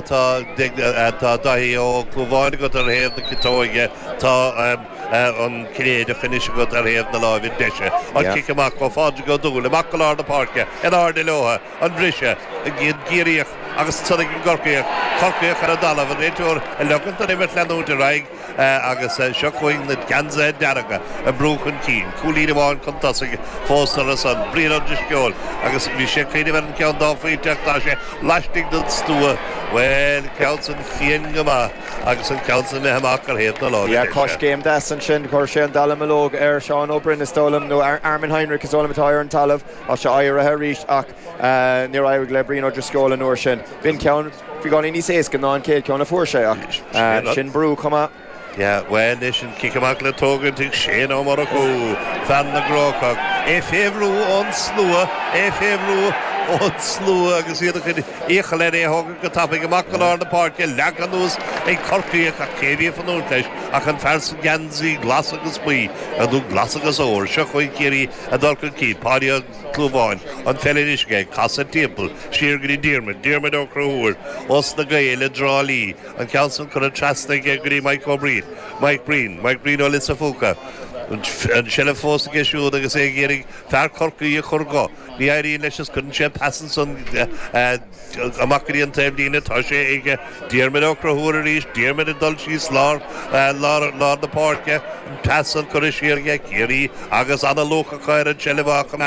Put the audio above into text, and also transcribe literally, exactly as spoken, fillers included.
Tá tá Daithí Ó Clúmháin agat ar thaobh na ciotóige tá an Cinnéideach anois agat ar thaobh na láimhe deise. An cic amach ó Phádraig Ó Dúill amach go lár na páirce in airde leo an briseadh an Ciarraíoch agus ansan ag an gCorcaíoch, Corcaíoch ar an dtalamh, an réiteoir ag ligean don imirt leanúint ar aghaidh agus seo chugainn na geansaithe dearga ag brú chun cinn, cúilín amháin chun tosaigh fós orthu san, Brian Ó Drisceoil agus bhí sé ag cuimhneamh ar an gceann dá phointe ach tá sé laistigh den stua, bhuel, an ceann san fiain go maith agus an ceann san imithe amach ar thaobh na láimhe Yeah, deise. coiscéim deas ansin, chuir sé an dallamullóg ar Seán Ó Broin is dóigh liom, nó Armin Heinrich is dóigh liom atá ar an talamh, tá sé éirithe arís ach níor éirigh le Brian Ó Drisceoil an uair sin. B'in ceann beagáinín níos éasca ná an chéad ceann a fuair sé ach sin brú chomh maith. Yeah, well leis an cic amach le tógaint ag Shane Ó Murchú, fear na gCrócach, é fé bhrú ón slua, é fé bhrú ón slua agus iad ag cur iachall air é a thógaint go tapaidh amach go lár na páirce, leagtha anuas ag Corcaíoch ach cé a bhí ag fanúint leis ach an fear sa gheansaí glas agus buí, nó glas agus ór. Seo chugainn Ciarraí ag dul chun cinn, Páidí Ó Clúmháin, an pheil anois aige, ag casadh timpeall, siar go dtí Diarmuid, Diarmuid Ó Conchúir, ós na Gaeil i dTrá Lí, an ceann san curtha trasna aige go dtí Mike Ó Breen, Mike Breen, Mike Breen ó Lios a' Phúca. An tseilbh fós aige siúd agus é ag iarraidh fear Chorcaí a chur dho. Ní éiríonn leis is cuireann sé pas ansan amach go dtí an taobhlíne. Tá sé ag Diarmuid Ó Conchúir arís, Diarmuid ag dul síos lár, lár, lár na páirce. An pas san curtha siar aige, Ciarraí agus ana-luach acu ar an tseilbh á choimeád.